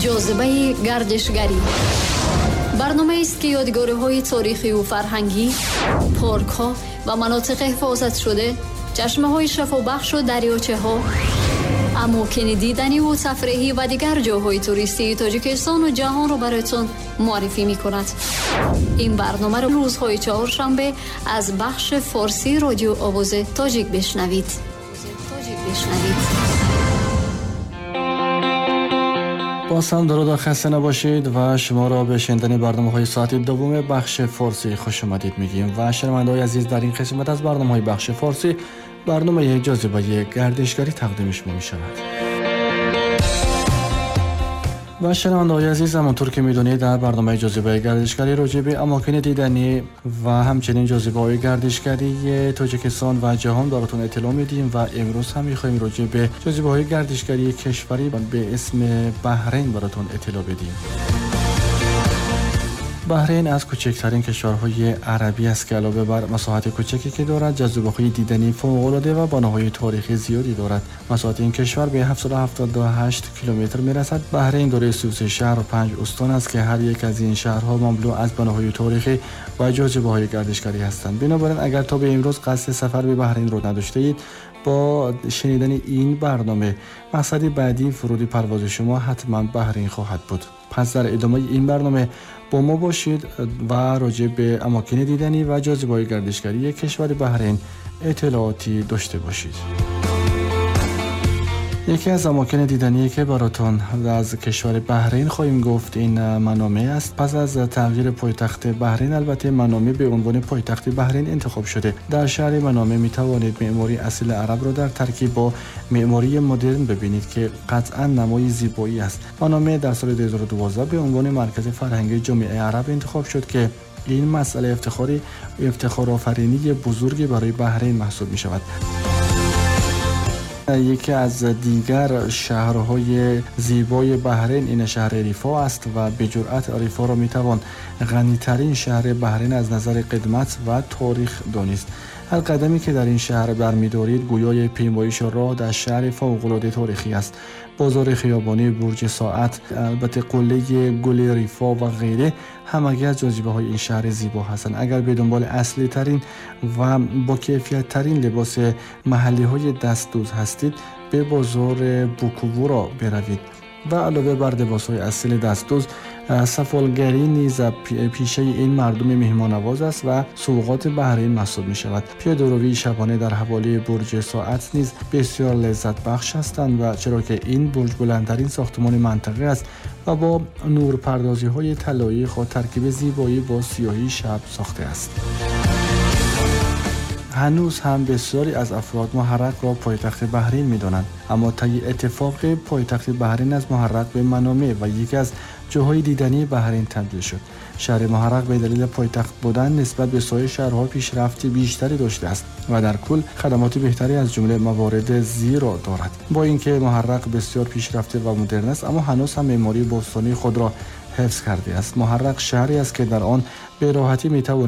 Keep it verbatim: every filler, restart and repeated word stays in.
Ҷозибаи гардишгарӣ барномаест, ки ёдгориҳои таърихию фарҳангӣ, паркҳо ва манотиқи ҳифозатшуда, чашмаҳои шафобахшу дарёчаҳо, амокини диданиву тафреҳӣ ва дигар ҷойҳои туристии Тоҷикистону ҷаҳонро бароятон муаррифӣ мекунад. Ин барномаро рӯзҳои чаҳоршанбе аз бахши форсии Радио Овози Тоҷик бишнавид. бишнавид. باز هم درود و خسته نباشید و شما را به شنیدن برنامه های ساعت دوم بخش فارسی خوش آمدید میگیم و شنونده‌های عزیز، در این قسمت از برنامه های بخش فارسی برنامه جاذبه گردشگری تقدیم شما می شود. و شنونده‌های عزیز، همانطور که میدونید در برنامه جاذبه گردشگری راجع به اماکن دیدنی و همچنین جاذبه‌های گردشگری تاجیکستان و جهان براتون اطلاع میدیم و امروز هم میخوایم راجع به جاذبه‌های گردشگری کشوری به اسم بحرین براتون اطلاع بدیم. بحرین از کوچکترین کشورهای عربی است که علاوه بر مساحت کوچکی که دارد، جاذبه‌های دیدنی فوق‌العاده و بناهای تاریخی زیادی دارد. مساحت این کشور به هفتصد و هفتاد و هشت کیلومتر می‌رسد. بحرین دارای سی و سه شهر و پنج استان است که هر یک از این شهرها مملو از بناهای تاریخی و جاذبه‌های گردشگری هستند. بنابراین اگر تا به امروز قصد سفر به بحرین را نداشته‌اید، با شنیدن این برنامه مقصد بعدی فرود پرواز شما حتما بحرین خواهد بود. پس در ادامه این برنامه با ما باشید و راجع به اماکن دیدنی و جاذبه‌های گردشگری کشور بحرین اطلاعاتی داشته باشید. یکی از اماکن دیدنی که براتون از کشور بحرین خواهیم گفت این منامه است. پس از تغییر پایتخت بحرین، البته منامه به عنوان پایتخت بحرین انتخاب شده. در شهر منامه می توانید معماری اصیل عرب را در ترکیب با معماری مدرن ببینید که قطعا نمای زیبایی است. منامه در سال دو هزار و دوازده به عنوان مرکز فرهنگی جامعه عرب انتخاب شد که این مسئله افتخاری افتخارآفرینی بزرگی برای بحرین محسوب می شود. یکی از دیگر شهرهای زیبای بحرین این شهر ریفا است و به جرأت ریفا را میتوان غنی‌ترین شهر بحرین از نظر قدمت و تاریخ دانست. هر قدمی که در این شهر برمی‌دارید گویای پیمایش راه در شهر فوق‌العاده تاریخی است. بازار خیابانی، برج ساعت، البته قله گل ریفا و غیره همگی از جاذبه‌های این شهر زیبا هستند. اگر به دنبال اصلی ترین و با کیفیت ترین لباس محلی های دستدوز هستید، به بازار بوکوورا بروید و علاوه بر لباس‌های اصیل دستدوز، سفالگری نیز پیشه این مردم مهمان‌نواز است و سوغات بحرین محسوب می‌شود. پیاده‌روی شبانه در حوالی برج ساعت نیز بسیار لذت بخش هستند و چرا که این برج بلندترین ساختمان منطقه است و با نورپردازی‌های طلایی خود ترکیب زیبایی با سیاهی شب ساخته است. هنوز هم بسیاری از افراد محرق را پایتخت بحرین می‌دانند، اما طی اتفاق پایتخت بحرین از محرق به منامه و یکی از جاهای دیدنی بحرین تبدیل شد. شهر محرق به دلیل پایتخت بودن نسبت به سایر شهرها پیشرفت بیشتری داشته است و در کل خدمات بهتری از جمله موارد زیر را دارد. با اینکه محرق بسیار پیشرفته و مدرن است، اما هنوز هم معماری باستانی خود را حفظ کرده است. محرق شهری است که در آن به راحتی می‌توانید